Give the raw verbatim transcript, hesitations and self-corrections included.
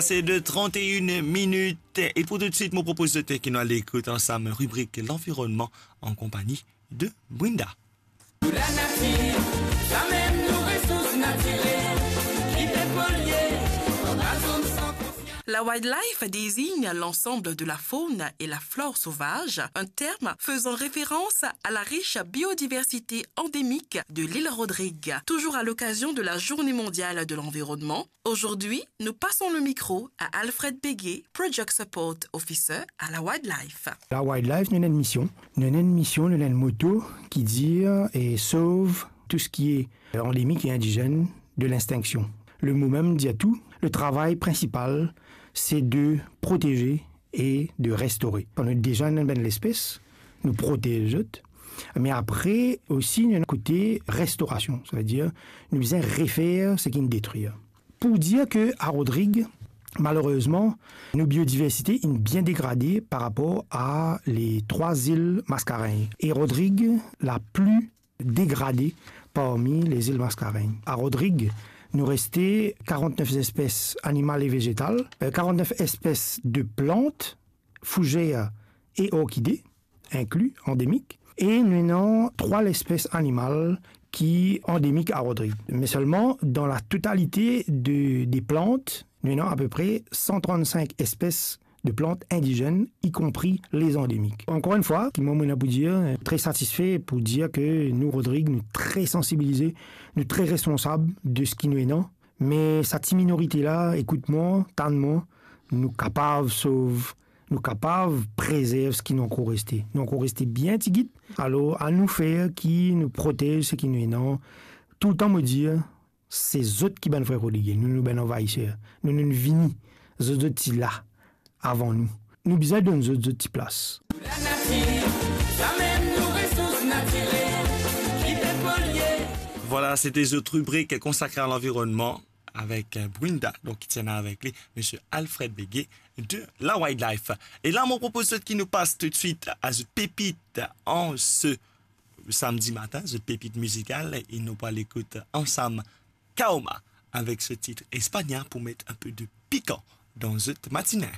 Se de trente et une minutes. E pou toutswit, mo propoz zot ki nou al ekout ansam ribrik Lanvironnman an konpagni de Brinda. Pou lanatir, sa mem nou resours natirel ki pe polye, an lazonn san konsians. La wildlife désigne l'ensemble de la faune et la flore sauvage, un terme faisant référence à la riche biodiversité endémique de l'île Rodrigue. Toujours à l'occasion de la Journée mondiale de l'environnement, aujourd'hui, nous passons le micro à Alfred Béguet, Project Support Officer à la Wildlife. La wildlife, nou ena enn mision. Nou ena enn mision, nou ena enn moto ki dir e sov tou seki e, euh, andemik e indizenn de lextinksion. Le mo mem dir tou, le travay prinsipal, se de proteze e de restore. Kan nou deza ena enn bann lespes, nou protez zot. Me apre osi, nou ena kote restorasion, savedir nou bizin refer seki inn detrir. Pou dir ke a Rodrig, malerezman, nou biodiversite inn bien degrade par rapor a le trwa zil Mascarenhas. E Rodrig, la pli degrade parmi lezil Mascarenhas. A Rodrig, nou reste karant-nef espes animal e vezetal, euh, karant-nef espes de plant, fouzer e orkide, inkli andemik, e nou ena trwa lespes animal ki andemik a Rodrig. Me selman, dan la totalite de, de plant, nou ena apepre san trannsink espes de plant indizenn, ikonpri lezandemik. Ankor enn fwa, ki mwa, mo ena pou dir, tre satisfe pou dir ke nou, Rodrig, nou tre sansibilize, nou tre responsab de seki nou ena. Me sa ti minorite la, ekout mwa, tann mwa, nou kapav sov, nou kapav prezerv seki nou ankor reste. Nou ankor reste bien tigit. Alor, anou fer ki nou protez seki nou ena. Toultan mo dir, se zot ki bann vre Rodrigyen, nou, nou bann anvayiser. Nou, nou vini, zot, zot ti la avan nou. Nou bizin donn zot, zot ti plas. Lanatir, sa mem nou resours natirel ki pe polye. Vwala, sete zot ribrik konsakre a lanvironnman avek, euh, Brinda, donk ki ti ena avek li misie Alfred Béguet de la Wildlife. E la, mo propoz zot ki nou pas toutswit a zot pepit an se samdi matin, zot pepit mizikal, e nou pou al ekout ansam Kaoma avek se tit España pou met enpe de pikan dan zot matine.